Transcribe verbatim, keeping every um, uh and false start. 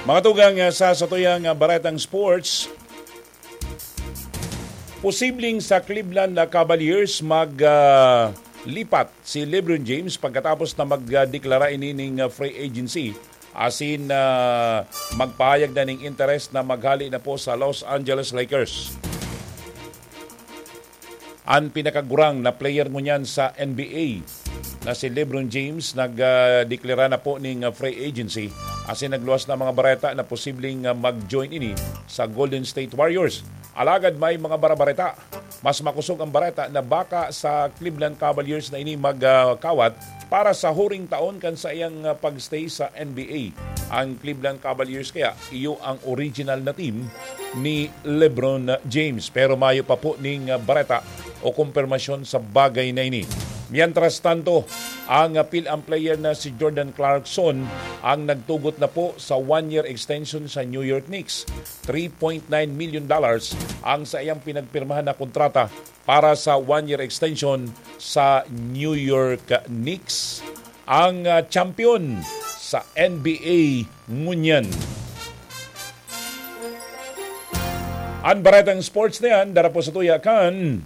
Mga tugang, ah, sa satuyang, ah, baretang sports, posibleng sa Cleveland na Cavaliers mag, ah, lipat si LeBron James pagkatapos na magdeklara ini ning, ah, free agency, asin, ah, magpahayag na ning interes na maghali na po sa Los Angeles Lakers. An pinakagurang na player ngunyan sa N B A na si LeBron James nagdeklara na po ning, ah, free agency, asin nagluwas na mga bareta na posibleng, ah, mag-join ini sa Golden State Warriors. Alagad may mga barabareta, mas makosog ang bareta na baka sa Cleveland Cavaliers na ini magkawat para sa huring taon kan saiyang, ah, pag-stay sa N B A. Ang Cleveland Cavaliers kaya iyo ang original na team ni LeBron James. Pero mayo pa po ning, ah, bareta o kumpirmasyon sa bagay na ini. Mientras tanto, ang, ah, Phil-Am player na si Jordan Clarkson ang nagtugot na po sa one-year extension sa New York Knicks. Three point nine million dollars ang saiyang pinagpirmahan na kontrata para sa one-year extension sa New York Knicks. Ang, ah, champion sa N B A ngunyan. An baretang sports na yan, dara po sa tuya kan